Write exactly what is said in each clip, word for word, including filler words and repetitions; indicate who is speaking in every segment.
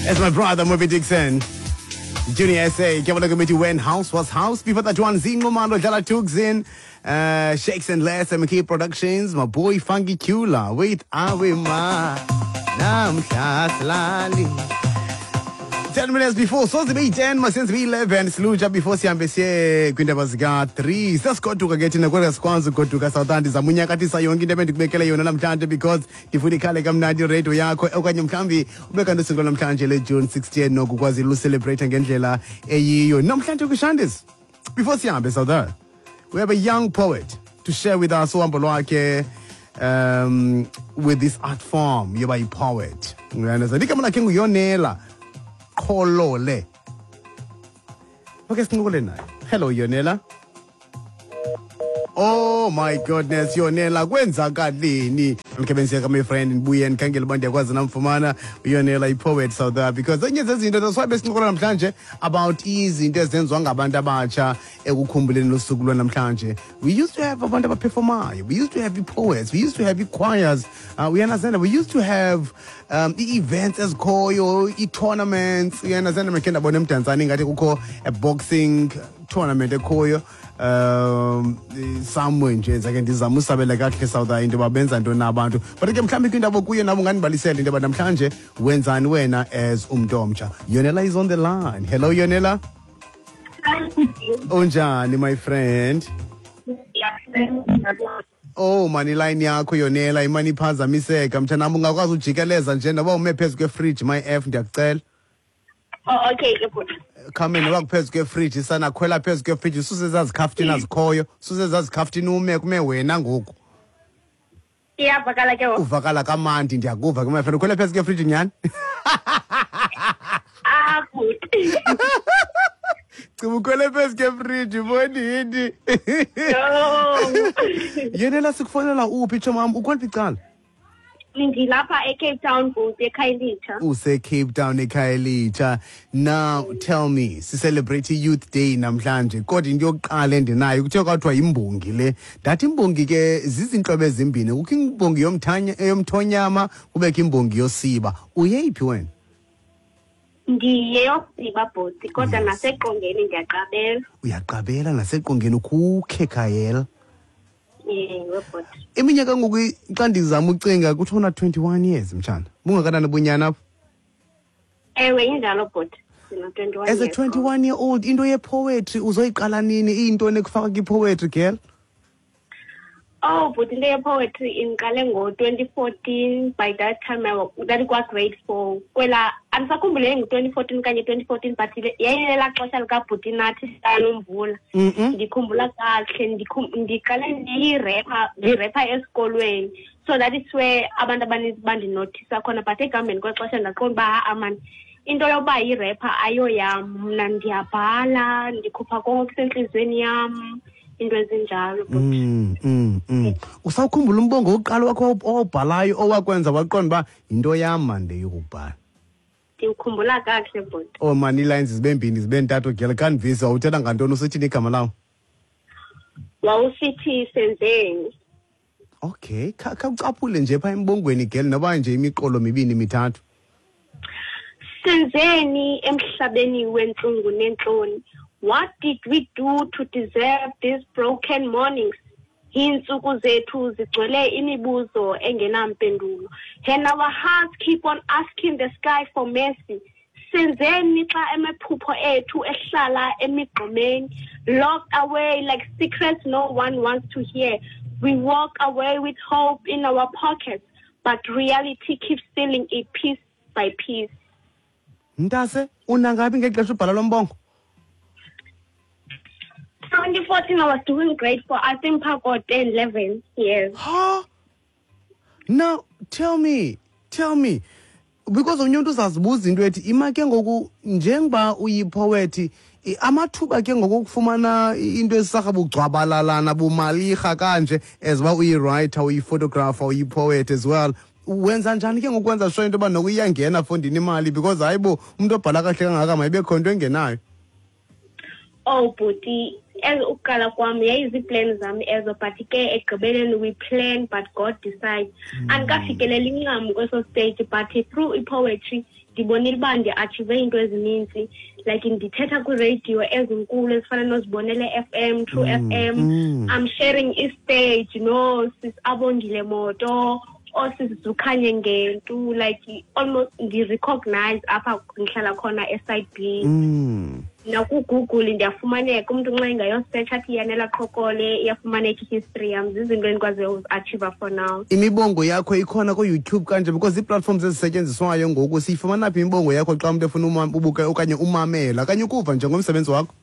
Speaker 1: That's my brother, Moby Dixon. Junior S A, Kevin Committee, when house was house. Before that one, Zingo Mando, Jala Tugzin, uh, Shakes and Les, M K Productions, my boy Funky Kula, with Awe Ma, Nam Lali. ten minutes before, so the ten, my sense eleven, Sluja before sihambe siye kwindaba zika three. Sasigoduka ke thina kodwa sikwazi ugoduka South zamunyakathisa yonke into ebendikubekele yona namhlanje because ndifuna ikhale kamnandi radio yakho okanye mhlawumbi ube kanti usuku namhlanje le June sixteenth nokukwazi ucelebrate ngendlela eyiyo. Namhlanje kwishandis. Before sihambe South, we have a young poet to share with us uhambo lwakhe um with this art form yoba yi-poet. Uyandeza igama lakhe nguYonela Kholole. Okay, sincokole naye. Hello Yonela. Oh my goodness, Yonela, kwenzakalini? Mkebenzeka my friend ndibuye ndikhangele uba ndiyakwazi namfumana uYonela i-poet South Africa because enye zezinto that's why besincokola namhlanje about izinto ezenziwa ngabantu abatsha ekukhumbuleni losuku lwanamhlanje. We used to have abantu abaperformayo, we used to have poets, we used to have choirs, uh, we understand we used to have um i-events ezikhoyo, i-tournaments. You understand mkhe ndabona eMdantsane ingathi kukho a boxing tournament ekhoyo um somewhere nje zake ndizama usabela kakuhle South Africa into babenza ntoni abantu but ke mhlawumbi kwinto kuye nabo ungandibalisela into yoba namhlanje wenzani wena as umntu omtsha. Yonela is on the line. Hello Yonela. Unjani my friend? Oh mani line yakho Yonela imani iphazamiseka mtshanam ungakwazi ujikeleza nje noba ume phezu kwefridge my F ndiyakucela.
Speaker 2: Oh okay good.
Speaker 1: Khame noba kuphezu kwefridge sana khwela phezu kwefridge suse zazikhaftini azikhoyo suse zazikhaftini ume kume wena ngoku.
Speaker 2: Iyavakala ke wo.
Speaker 1: Uvakala kamandi ndiyakuva ke my friend ukhwele phezu kwefridge nyani?
Speaker 2: Ah good.
Speaker 1: Cima ukhwele phezu kwefridge mbonini.
Speaker 2: No.
Speaker 1: Yonela sikufonela uphi chomam ukweliphi icala?
Speaker 2: Ndilapha eCape Town bhuti eKhayelitsha.
Speaker 1: Use Cape Town eKhayelitsha. Now tell me, si celebrate Youth Day namhlanje kodwa into yokuqala endinayo kuthiwa kwathiwa imbongi le. Ndathi imbongi ke zizintlobo ezimbini, kukho imbongi yomthanya yomthonyama kubekho imbongi yosiba. Uyeyiphi wena?
Speaker 2: Ndiyeyosiba bhuti kodwa naseqongeni ndiyaqabela.
Speaker 1: Uyaqabela naseqongeni ukukhe Khayela.
Speaker 2: Ewe bhuti.
Speaker 1: Iminyaka ngoku xa ndizama ucinga kuthiwa twenty-one years mtshana. Bungakanani bunyana apho?
Speaker 2: Ewe injalo bhuti. Ndina twenty-one
Speaker 1: As a
Speaker 2: years.
Speaker 1: twenty-one year old into ye-poetry uzoyiqala nini iyintoni ekufaka kwi-poetry girl?
Speaker 2: Oh bhuti into ye-poetry indiqale ngo-twenty fourteen. By that time I was ndandikwa grade four. Kwela andisakhumbule ngu-twenty fourteen okanye twenty fourteen but yayilela xesha likabhuti Nathi Nomvula. Ndikhumbula kakuhle ndiqale ndiyirepha ndirepha esikolweni. So that is where abantu abaninzi bandinothisa khona but ekuhambeni kwexesha ndaqonda uba ha-a mani into yoba yirepha ayoyam mna ndiyabhala ndikhupha konke okusentliziyweni yam into ezinjalo.
Speaker 1: Mm, mm, mm. Usawukhumbula umbongo wokuqala wakho owubhalayo owakwenza waqonda uba yinto yam mani le yokubhala?
Speaker 2: Ndiwukhumbula kakuhle bhuti.
Speaker 1: Oh mani ii-lines zibe mbini zibe ntathu girl kandivisa uthetha ngantoni usithini igama lawo?
Speaker 2: Wawusithi senzeni.
Speaker 1: Okay, khawucaphule nje phaa embongweni girl noba nje imiqolo mibini mithathu.
Speaker 2: Senzeni emhlabeni wentlungu nentloni. What did we do to deserve these broken mornings? Iintsuku zethu zigcwele imibuzo engenampendulo. And our hearts keep on asking the sky for mercy. Senzeni xa amaphupho ethu ehlala emigqomeni, locked away like secrets no one wants to hear. We walk away with hope in our pockets, but reality keeps stealing it piece by piece.
Speaker 1: Mntase, unangabi ngexesha ubhala lo mbongo?
Speaker 2: twenty fourteen, I was doing great for I think about ten, eleven years.
Speaker 1: Huh? Now, tell me, tell me, because omnye umntu uzazibuza into ethi ima ke ngoku njengoba uyipoet amathuba ke ngoku okufumana into ezisarha bugcwabalalana bumalirha kanje as uba uyi-writer, uyi-photographer, uyi-poet as well. Wenza njani ke ngokwenza sure into yoba noko iyangena fondini imali because hayi bo umntu obhala kahle kangaka mayibe khona into engenayo.
Speaker 2: Oh bhuti, as ukuqala kwam yayiziiplani zam ezo but ke ekugqibeleni we plan but God decides. Andikafikeleli ncam kweso stage but through i-poetry Ndibonile uba ndi-achieve iinto ezininzi, like ndithetha kwiiradio ezinkulu ezifana noZibonele F M, True F M.
Speaker 1: mm.
Speaker 2: I'm sharing istage noSis Abongile Moto, ooSis Zukhanye Ngentu, like almost ndi-recognize apha ndihlala khona e-Side B.
Speaker 1: Mm.
Speaker 2: NakuGoogle ndiyafumaneka, umntu nxa ingayosearch athi Yanela Qhokole, iyafumaneka i-history yam. Zizinto endikwaziyo uzi-achieva for now.
Speaker 1: Imibongo yakho ikhona ku-YouTube kanje? Because ii-platforms ezisetyenziswayo ngoku, siyifumana phi imibongo yakho xa umntu efuna uma- ubuke okanye umamela okanye ukuva njengomsebenzi wakho?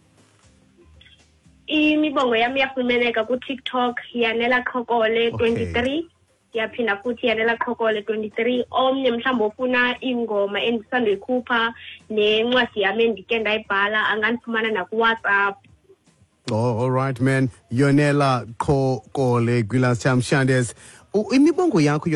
Speaker 2: Imibongo yam iyafumaneka kuTikTok, Yanela Qhokole
Speaker 1: Okay.
Speaker 2: twenty-three. Ndiyaphinda futhi, Yanela Qhokole twenty-three. Omnye mhlawumbi ofuna iingoma endisandoyikhupha nencwadi yam endike ndayibhala angandifumana nakuWhatsApp.
Speaker 1: Oh, all right, man. Yonela Qhokole, Gwilas Chamshandes. Imibongo yakho.